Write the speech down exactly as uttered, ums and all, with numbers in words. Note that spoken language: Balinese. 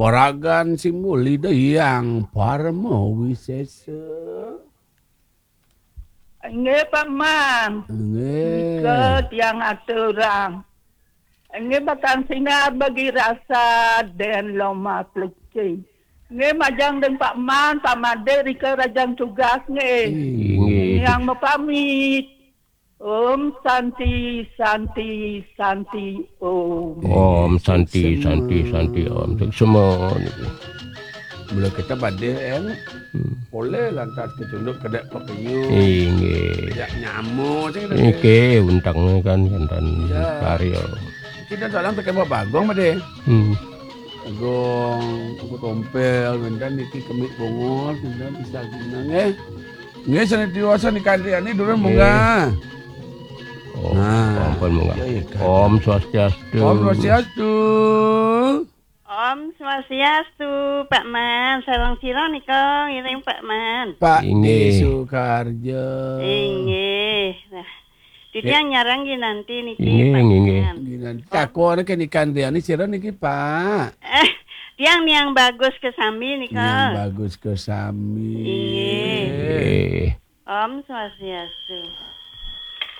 Paragan Simbul Ida Hyang Parama Wisesa. Nggih, Pak Man. Nggih. Nika tiang aturang. Nggih, batang sinar bagi rasa den loma pleci. Nggih, majeng deng Pak Man, Pak Made rika rajang tugas nggih. Inggih. Tiang mapamit. Om Santi, Santi, Santi, Om. Om Santi, Santi, Santi, Om. Suksma niki. Mula kita badhe, Eng. Hmm. Polih lantas kecunduk kedek pepenyu. Inggih. Yak nyamuk sing kedek. Niki untang kan wonten karya. Kita dalam pakai Pak Bagong, Made. Hmm. Bagong, Pak Tompel, wonten niki kemik bongor, wonten bisa guna nggih. Nggih, sane diwasa nika Andriani durun munggah. Oh, nah, ampun munggah. Iya, iya, kan. Om Swastiastu. Om Swastiastu. Om Swastiastu, Pak Man. Sareng sira nika ngiring Pak Man. Pak Inggih. Sukarjo. Inggih. Nah, titiang nyarang Ginanti niki, inggih, Pak inggih. Man. Ginanti. Takon ke nika Andriani sira niki, Pak. Eh, tiang Niang Bagus kesami nika. Niang Bagus kesami. Inggih. Inggih. Om Swastiastu.